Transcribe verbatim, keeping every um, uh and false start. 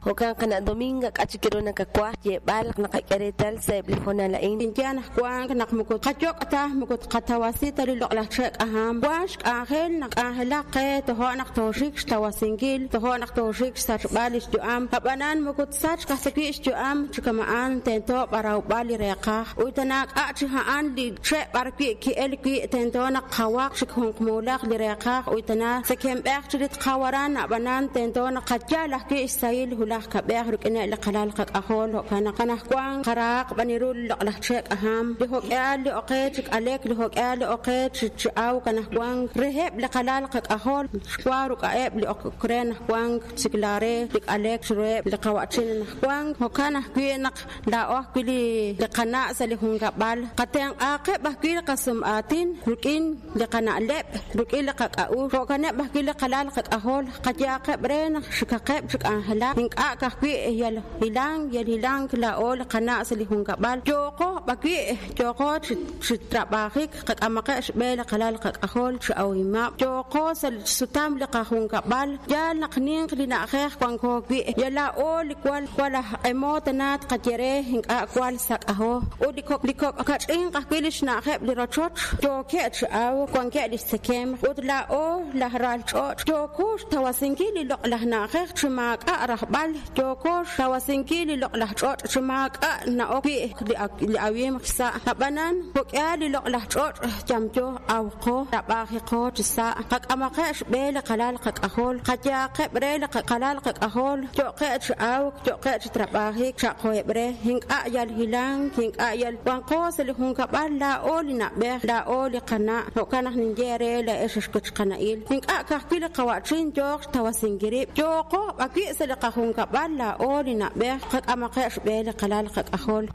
Jo'kan qana' Dominga k'a' chik ru nakawaj xyeeb'al naqak'e reetal sa' eb' li hoonal a'in. Ninye anaqwan naq moko tqayok' ta moko tqatawasi ta li loq'laj che' k'ajam, wank xk'anjel naq k'anjelaq qe tojo' naq tooxik xtawasinkil, tojo' naq tooxik xsachb'al li xyu'am, ab'anan moko tsachq aj ta wi' xyu'am chi kama'an tento b'arawb'al li reeqaj uy ta naak'a' chi a'an li che' b'ar wi' ki'el wi' tento naq qawaq chik junqmuulaq li reeqaj uy ta na tzekemb'ej chi li tqawaran ab'anan tento naq qayal ajwi' xsahil hulaj kab'ej rik'ineb' li qalal qak'ajol jo'kan naq anaqwan qaraaq b'an ru li loq'laj che' k'ajam li jok'eal li oqe chi k'alek li jok'eal li oqe chi chi awk anaqwan reheb' li qalal qak'ajol xwa ruk'a'eb' li ok re anaqwan chiklaare li k'alek chiruheb' li qawa'chin anaqwan jo'kan ajwi' naq laa'o ajwi' li li qana' sa' li junkab'al qatenq'aaqeb' ajwi' li qasum'aatin rik'in li qana'leb' rik'in li qak'a'uxl jo'kaneb' ajwi' li qalal qak'ajol qayaaqeb' re naq xikaqeb' chi k'anjelak ink'a' ka'ajwi' yal hilank yal hilank laa'o li qana' sa' li junkab'al yooqo b'awi' yooqo chi chi trab'ajik qak'amaqeb' xb'e li qalal qak'ajol chi awimab' yooqo sa' li xsutam li qajunkab'al yaal naq ninq li na'ajej wanko wi' yal laa'o li wal wal aj q'emo tana tqaye re ink'a' wal sak'ajo ut li kok' li kok' kach'inq ajwi' li xna'ajeb' li rochoch yookeb' chi awk wankeb' li xtzekemq ut laa'o laj ral ch'och' yooko xtawasinkil li loq'laj na'ajej chi maak'a' rajb'al yooko xtawasinkil li loq'laj ch'och' chi maak'a' na'ok wi' li li awimq xsa' ab'anan jok'eal li loq'laj ch'och' yamyo awqo trab'ajiqo chi sa' qak'amaqeb' xb'e li qalal qak'ajol qayaaqeb' re li qalal qak'ajol yo'qeb' chi awk yo'qeb' chi trab'ajik chaqoheb' re ink'a' yal hilank ink'a' yal wanqo sa' li junkab'al laa'o li na'b'ej laa'o li qana' jo'kan naq ninye re laa'ex xwechqana'il ink'a' ka'ajwi' li qawa'chin yooq xtawasinkil rib' yooqo b'awi' sa' li qajunkab'al laa'o li na'b'ej qak'amaqeb' xb'e li qalal qak'ajol.